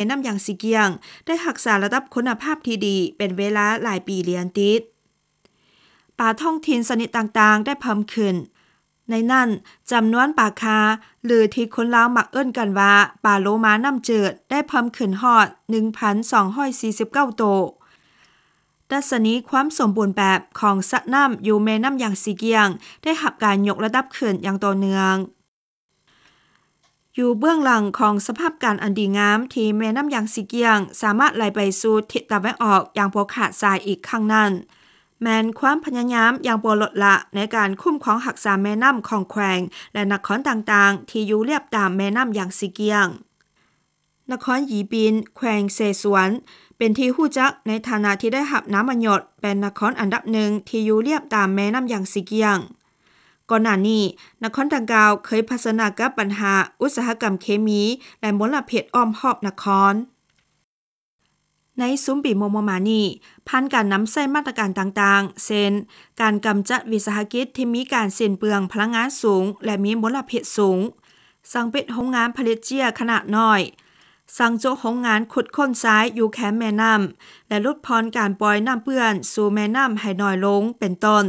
ມ່ນ້ຳຢາງຊີກ້ຽງ ໄດ້ຮັກສາລະດັບຄຸນນະພາບທີ່ດີເປັນເວລາຫຼາຍປີລຽນຕິດ. ປາທ້ອງຖິ່ນຊະນິດຕ່າງໆໄດ້ເພີ່ມຂຶ້ນ, ໃນນັ້ນ ຈຳນວນປາຄາ ຫຼື ທີ່ຄົນລາວມັກເອີ້ນກັນວ່າ ປາໂລມານ້ຳຈືດ ໄດ້ເພີ່ມຂຶ້ນຮອດ ໜຶ່ງພັນສອງຮ້ອຍສີ່ສິບເກົ້າໂຕ. ດັດຊະນີຄວາມສົມບູນແບບຂອງສະນ້ຳຢູ່ແມ່ນ້ຳຢາງຊີກ້ຽງ ໄດ້ຮັບການຍົກລະດັບຂຶ້ນຢ່າງຕໍ່ເນື່ອງ. ຢູ່ເບື້ອງຫຼັງຂອງສະພາບການອັນດີງາມທີ່ແມ່ນ້ຳຢາງຊີກ້ຽງສາມາດໄຫຼໄປສູ່ທິດຕາເວັນອອກຢ່າງບໍ່ຂາດສາຍອີກຄັ້ງນັ້ນ ແມ່ນຄວາມພະຍາຍາມຢ່າງບໍ່ລົດລະໃນການຄຸ້ມຄອງຮັກສາແມ່ນ້ຳຂອງແຂວງ ແລະ ນະຄອນຕ່າງໆທີ່ຢູ່ລຽບຕາມແມ່ນ້ຳຢາງຊີກ້ຽງ. ນະຄອນຫຢີປິນ ແຂວງເຊຊວນ ເປັນທີ່ຮູ້ຈັກໃນຖານະທີ່ໄດ້ຮັບນາມມະຍົດເປັນນະຄອນອັນດັບໜຶ່ງທີ່ຢູ່ລຽບຕາມແມ່ນ້ຳຢາງຊີກ້ຽງ. ກ່ອນໜ້ານີ້ ນະຄອນດັ່ງກ່າວເຄີຍຜະເຊີນໜ້າກັບບັນຫາອຸດສາຫະກຳເຄມີ ແລະ ມົນລະພິດອ້ອມຮອບນະຄອນ. ໃນຊຸມປີມົວໆມານີ້ ຜ່ານການນຳໃຊ້ມາດຕະການຕ່າງໆ ເຊັ່ນ ການກຳຈັດວິສາຫະກິດທີ່ມີການສິ້ນເປືອງພະລັງງານສູງ ແລະ ມີມົນລະພິດສູງ, ສັ່ງປິດໂຮງງານຜະລິດເຈ້ຍຂະໜາດນ້ອຍ, ສັ່ງໂຈະໂຮງງານຂຸດຄົ້ນຊາຍຢູ່ແຄມແມ່ນ້ຳ ແລະ ຫຼຸດຜ່ອນການປ່ອຍນ້ຳເປື້ອນສູ່ແມ່ນ້ຳໃຫ້ໜ້ອຍລົງ ເປັນຕົ້ນ,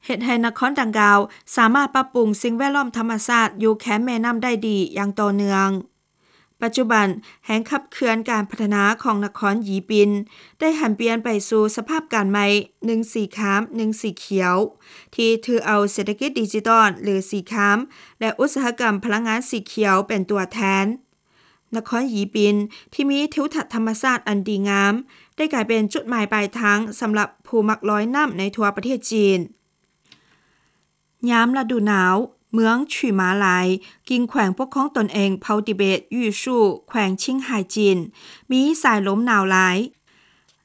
ເຮັດໃຫ້ນະຄອນດັ່ງກ່າວສາມາດປັບປຸງສິ່ງແວດລ້ອມທຳມະຊາດຢູ່ແຄມແມ່ນ້ຳໄດ້ດີຢ່າງຕໍ່ເນື່ອງ. ປັດຈຸບັນ, ແຮງຂັບເຄື່ອນການພັດທະນາຂອງນະຄອນຫຢີປິນ ໄດ້ຫັນປ່ຽນໄປສູ່ສະພາບການໃໝ່ ໜຶ່ງສີຂາມ ໜຶ່ງສີຂຽວ ທີ່ຖືເອົາເສດຖະກິດດິຈິຕອນ ຫຼື ສີຂາມ ແລະ ອຸດສາຫະກຳພະລັງງານສີຂຽວເປັນຕົວແທນ. ນະຄອນຫຢີປິນ ທີ່ມີທິວທັດທຳມະຊາດອັນດີງາມ ໄດ້ກາຍເປັນຈຸດໝາຍປາຍທາງສຳລັບຜູ້ມັກລອຍນ້ຳໃນທົ່ວປະເທດຈີນ. ຍາມລະດູໜາວ, ເມືອງຂູມາລາຍ ກິ່ງແຂວງປົກຄອງຕົນເອງເຜົ່າຕິເບດຢູຊູ່ ແຂວງຊິງໄຫ່ ຈີນ ມີສາຍລົມໜາວຫຼາຍ.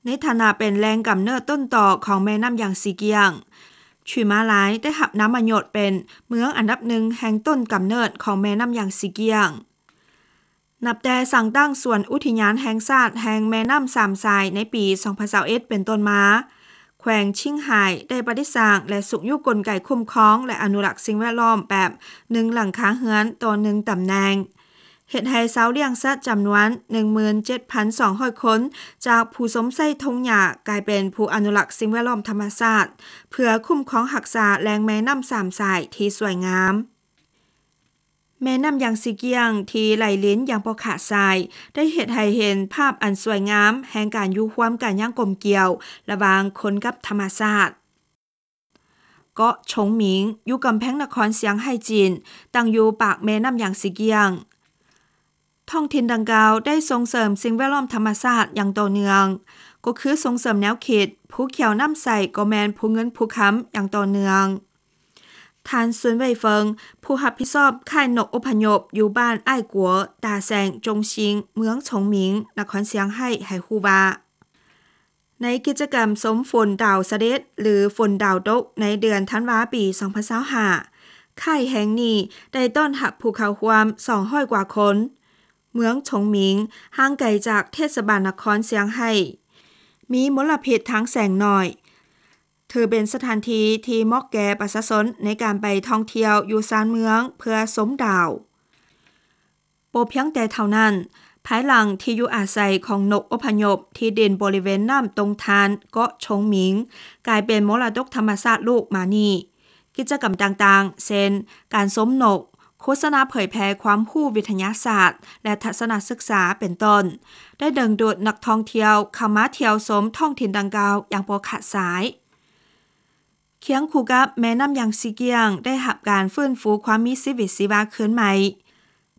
ໃນຖານະເປັນແຫຼ່ງກຳເນີດຕົ້ນຕໍຂອງແມ່ນ້ຳຢາງຊີກ້ຽງ, ຂູມາລາຍໄດ້ຮັບນາມມະຍົດເປັນເມືອງອັນດັບໜຶ່ງແຫ່ງຕົ້ນກຳເນີດຂອງແມ່ນ້ຳຢາງຊີກ້ຽງ. ນັບແຕ່ສ້າງຕັ້ງສວນອຸທິຍານແຫ່ງຊາດແຫ່ງແມ່ນ້ຳສາມສາຍໃນປີສອງພັນຊາວເອັດເປັນຕົ້ນມາ, ແຂວງຊິງໄຫ່ໄດ້ປະດິດສ້າງ ແລະ ຊຸກຍູ້ກົນໄກຄຸ້ມຄອງ ແລະ ອະນຸລັກສິ່ງແວດລ້ອມແບບໜຶ່ງຫຼັງຄາເຮືອນຕໍ່ໜຶ່ງຕຳແໜ່ງ, ເຮັດໃຫ້ຊາວລ້ຽງສັດຈຳນວນໜຶ່ງໝື່ນເຈັດພັນສອງຮ້ອຍຄົນ ຈາກຜູ້ຊົມໃຊ້ທົ່ງຫຍ້າ ກາຍເປັນຜູ້ອະນຸລັກສິ່ງແວດລ້ອມທຳມະຊາດ ເພື່ອຄຸ້ມຄອງຮັກສາແຫຼ່ງແມ່ນ້ຳສາມສາຍທີ່ສວຍງາມ. ແມ່ນ້ຳຢາງຊີກ້ຽງທີ່ໄຫຼລິນຢ່າງບໍ່ຂາດສາຍ ໄດ້ເຮັດໃຫ້ເຫັນພາບອັນສວຍງາມແຫ່ງການຢູ່ຮ່ວມກັນຢ່າງກົມກຽວລະຫວ່າງຄົນກັບທຳມະຊາດ. ເກາະຊົງໝິງ ຢູ່ກຳແພງນະຄອນຊຽງໄຮ່ຈີນ ຕັ້ງຢູ່ປາກແມ່ນ້ຳຢາງຊີກ້ຽງ. ທ້ອງຖິ່ນດັ່ງກ່າວໄດ້ສົ່ງເສີມສິ່ງແວດລ້ອມທຳມະຊາດຢ່າງຕໍ່ເນື່ອງ, ກໍຄືສົ່ງເສີມແນວຄິດ ຜູ້ຂຽວນ້ຳໃສກໍແມ່ນຜູ້ເງິນຜູ້ຄຳ ຢ່າງຕໍ່ເນື່ອງ. ທ່ານ ຊຸນ ເຫວີຍເຟິງ ຜູ້ຮັບຜິດຊອບຄ້າຍນົກອົບພະຍົບຢູ່ບ້ານອ້າຍກົວ ຕາແຊງ ຈົງຊິງ ເມືອງຊົງໝິງ ນະຄອນຊຽງໄຮ່ ໃຫ້ຮູ້ວ່າ ໃນກິດຈະກຳຊົມຝົນດາວສະເດັດ ຫຼື ຝົນດາວຕົກ ໃນເດືອນທັນວາ ປີສອງພັນຊາວຫ້າ ຄ້າຍແຫ່ງນີ້ໄດ້ຕ້ອນຮັບຜູ້ເຂົ້າຮ່ວມສອງຮ້ອຍກວ່າຄົນ. ເມືອງຊົງໝິງຫ່າງໄກຈາກເທດສະບານນະຄອນຊຽງໄຮ່, ມີມົນລະພິດທາງແສງໜ້ອຍ, ຖືເປັນສະຖານທີ່ທີ່ເໝາະແກ່ປະຊາຊົນໃນການໄປທ່ອງທ່ຽວຢູ່ຊານເມືອງເພື່ອຊົມດາວ. ບໍ່ພຽງແຕ່ເທົ່ານັ້ນ, ພາຍຫຼັງທີ່ຢູ່ອາໄສຂອງນົກອົບພະຍົບທີ່ດິນບໍລິເວນນ້ຳຕົງທານເກາະຊົງໝິງ ກາຍເປັນມໍລະດົກທຳມະຊາດໂລກມານີ້, ກິດຈະກຳຕ່າງໆ ເຊັ່ນ ການຊົມນົກ, ໂຄສະນາເຜີຍແຜ່ຄວາມຮູ້ວິທະຍາສາດ ແລະ ທັດສະນະສຶກສາເປັນຕົ້ນ ໄດ້ດຶງດູດນັກທ່ອງທ່ຽວເຂົ້າມາທ່ຽວຊົມທ້ອງຖິ່ນດັ່ງກ່າວຢ່າງບໍ່ຂາດສາຍ. ຄຽງຄູ່ກັບແມ່ນ້ຳຢາງຊີກ້ຽງໄດ້ຮັບການຟື້ນຟູຄວາມມີຊີວິດຊີວາຄືນໃໝ່.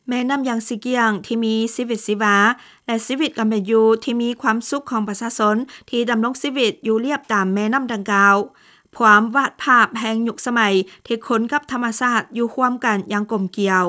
ແມ່ນ້ຳຢາງຊີກ້ຽງທີ່ມີຊີວິດຊີວາ ແລະ ຊີວິດການເປັນຢູ່ທີ່ມີຄວາມສຸກຂອງປະຊາຊົນທີ່ດຳລົງຊີວິດຢູ່ລຽບຕາມແມ່ນ້ຳດັ່ງກ່າວ ພວມວາດພາບແຫ່ງຍຸກສະໄໝທີ່ຄົນກັບທຳມະຊາດຢູ່ຮ່ວມກັນຢ່າງກົມກຽວ.